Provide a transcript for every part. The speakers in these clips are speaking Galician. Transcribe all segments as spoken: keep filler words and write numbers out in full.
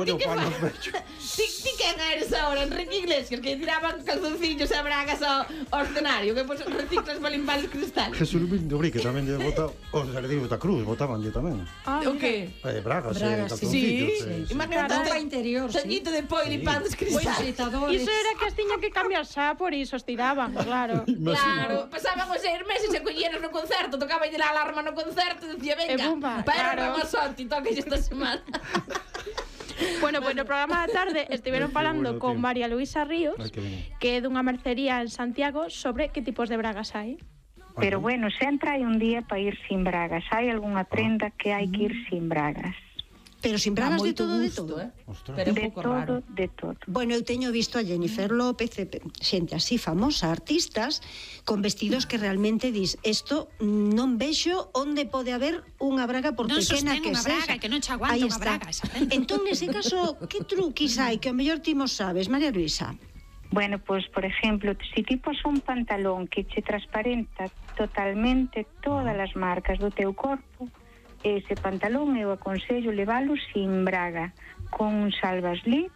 colle o pano aos pechos. Ti, ti quen eres ahora, Enrique Iglesias, que tiraban calzoncillos e bragas ao, ao escenario, que pues, reciclas para limpar os cristales. Jesús Luis de Urique tamén lle bota, os Sardinhos da Cruz botabanlle tamén. Ah, O que? Eh, bragas, Bragas, eh, Sí, calzoncillos. eh, sí. imagínate Roupa interior, sí. Sañito de poi limpando os Os cristales. visitadores. Iso era que as tiña que cambiar xa, por iso os tiraban, claro. Claro, pasaban os seis meses e colleras no concerto, tocaba a alarma no concerto e dicía, E venga, bumba, para claro. Ramazotti, toca esta semana. Bueno, pois no programa da tarde estiveron Ai, que falando bueno, con tío. María Luisa Ríos, Ai, que ben. que é dunha mercería en Santiago, sobre que tipos de bragas hai. Pero bueno, sempre hai un día para ir sin bragas. Hai algunha prenda que hai que ir sin bragas. Pero sin bragas de todo, de todo. Eh? Ostras. Pero un De pouco todo, raro. de todo. Bueno, eu teño visto a Jennifer López, e pe- xente así famosa, artistas, con vestidos que realmente dis, esto non vexo onde pode haber unha braga por Non pequena sostén que unha sexa. braga, que non che aguanta Aí unha está. braga, exactamente. Entón, nese caso, que truquis hai que ao mellor ti mo sabes, María Luisa? Bueno, pues por ejemplo, si ti pos un pantalón que che transparenta totalmente todas as marcas do teu corpo, ese pantalón eu aconsello levalo sin braga, con un salvaslip,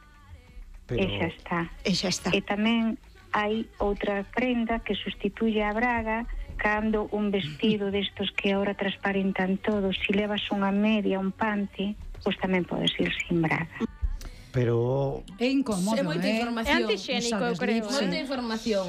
Pero- e xa está. E xa está. E tamén hai outra prenda que sustituye a braga cando un vestido destos que ahora transparentan todo, si levas unha media, un panty, pois tamén podes ir sin braga. Pero É incómodo, É moita eh? É información. antixénico, eu Sabes, creo. Lips, eh. Moita información.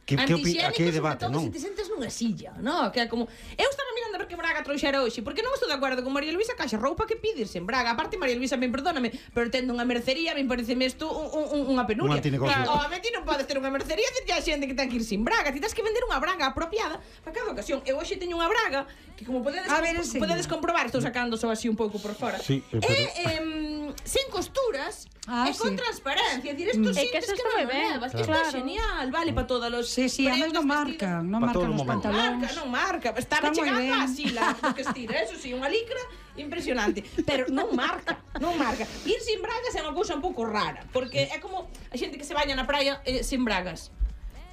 Que- que opi- Antixénico, aquí hai debate, sobre todo non? se te sentes nunha silla, no? Que é como... Eu estaba mirando a ver que braga trouxera hoxe, porque non estou de acordo con María Luisa Caixa, roupa que pides en braga. Aparte, María Luisa, ben perdóname, pero tendo unha mercería, me pareceme isto un, un, unha penuria. Un antinegocio. Claro, a ti non podes ter unha mercería e dicir a xente que ten que ir sin braga. Ti tens que vender unha braga apropiada para cada ocasión. Eu hoxe teño unha braga que, como podedes, A ver, enseña. podedes comprobar, estou sacando só así un pouco por fora. Sí, e, eh, pero- em, sin costuras, Ah, e con sí. transparencia. Dir, isto É que sientes eso que está non moi o ben, levas. claro. Isto é genial, vale para todos os Sí, sí, además non marcan, non Pa marcan todos os os momentos. pantalóns. Marca, non marca. Está Está moi chegando ben. así la do que estira, eso sí, unha licra impresionante, pero non marca, non marca. Ir sin bragas é unha cousa un pouco rara, porque é como a xente que se baña na praia eh, sin bragas.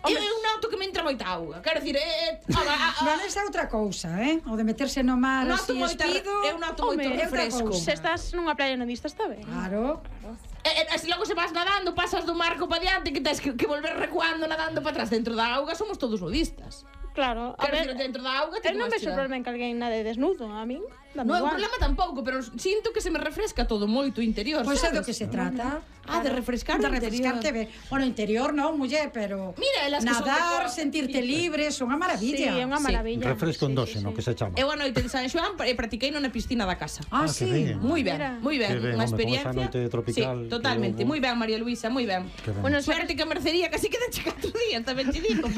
Eu, eu noto que me entra moita auga. Quero dicir, é, é, a, a, a, Non, esa é outra cousa, eh? O de meterse no mar noto así moita, espido. eu noto moito Home, é outra refresco. cousa. Se estás nunha playa nudista está ben. Claro. E, e, e se logo se vas nadando, pasas do marco para diante, que tens que, que volver recuando nadando para atrás. Dentro da auga somos todos nudistas. Claro, a Quero ver, dicir, dentro da auga eu non vas vexo chegar. problema en que alguén nade desnudo, a min. dame Non é un igual. problema tampouco, pero sinto que se me refresca todo moito o interior, Pois é sabes? do que se trata. Ah, de refrescar de o interior. refrescarte ben. Bueno, interior non, muller, pero Mira, elas que son de nadar, cor- sentirte libre, son unha maravilla. Sí, é unha Sí. maravilla. refresco Sí, endóxeno, sí, que se chama. Eu a noite de San Xoán e practiquei na piscina da casa. Ah, Ah, sí. que ben. Moi ben, Mira. moi ben, Que ben, unha home, con esa experiencia. noite tropical Sí, totalmente, que houbo. moi ben, María Luisa, moi ben. Que ben. Bueno, Suerte que a mercería casi quedan che catro días, tamén te digo.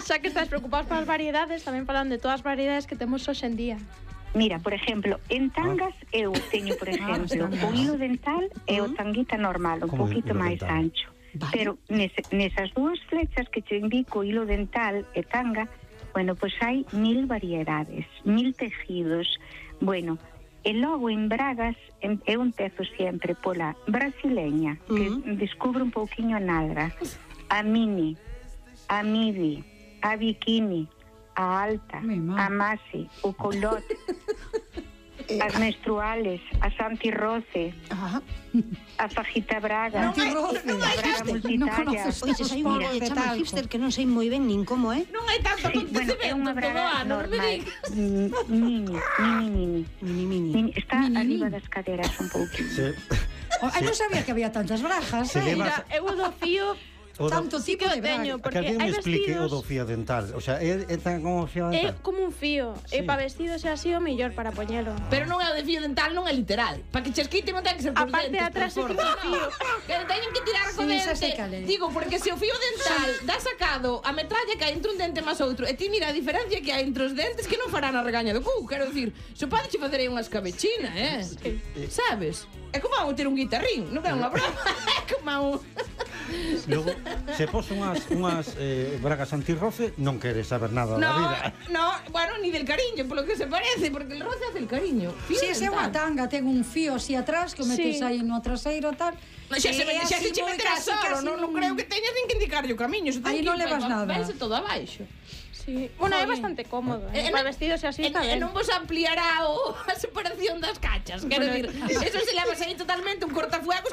Xa que estás preocupados polas variedades, tamén falan de todas as variedades que temos hoxe en día. Mira, por exemplo, en tangas eu teño, por exemplo, o hilo dental e o tanguita normal, un Como poquito hilo máis dental? ancho. Vale. Pero nese, nesas dúas flechas que te indico, hilo dental e tanga, bueno, pois hai mil variedades, mil tejidos. Bueno, e logo en bragas em- eu empezo sempre pola brasileña, que Mm. descubro un pouquiño a nalga, a mini, a midi, a bikini, a alta, Mi má. a masi, o colot, as menstruales, as antirroce, Ajá. a fajita braga, Antirroce. a braga Non multitalla. conoces Oye, os hai unha polvos que de chama talco. hipster que non sei moi ben nin como é. Non hai tanto Sí, bueno, é acontecemento unha todo o braga ano, non me normal. digas. Mm, Mini, mini, mini. Mini, mini. Mini. Está Mini, arriba mini. das caderas un pouquinho. Se, Oh, ai, non sabía que había tantas brajas, Se eh? leva- Mira, eu do fío o do- Tanto sí tipo que o de braga. teño, que porque alguén hai me explique o do vestidos... fío dental. O sea, é, é tan como o fío É dental. como un fío, e Sí. para vestidos é así o mellor para poñelo. Pero non é o de fío dental, non é literal. Para que chesquite non ten que ser por A parte de dentes, atrás por é fora. tipo fío. Que teñen que tirar co Sí, dente. xa sei cal é. Digo, porque se o fío dental dá sacado a metralla que hai entre un dente máis outro, e ti mira a diferencia que hai entre os dentes que non farán a regaña do cu. Quero dicir, xo podeche facer aí unha escabechina, eh? Sabes? É como a ter un guitarrín, non é unha broma. É como a un... Logo, se pos unhas, unhas eh, bragas antirroce, non queres saber nada da No, vida. no, bueno, ni del cariño, polo que se parece, porque el roce hace el cariño. Fío Si, ese é unha dental. tanga, ten un fío así atrás que o metes Sí. aí no traseiro tal. No, xa se, E xa así se che moi meterá casi, solo, casi non, non creo que teñas nin que indicarlle o camiño. Aí non levas nada. Vese todo abaixo. Sí. Bueno, é Joder. bastante cómodo, E eh? Para vestidos e así e, está e ben. non vos ampliará o, a separación das cachas. Quero Bueno, dicir, eso se levas aí totalmente un cortafuegos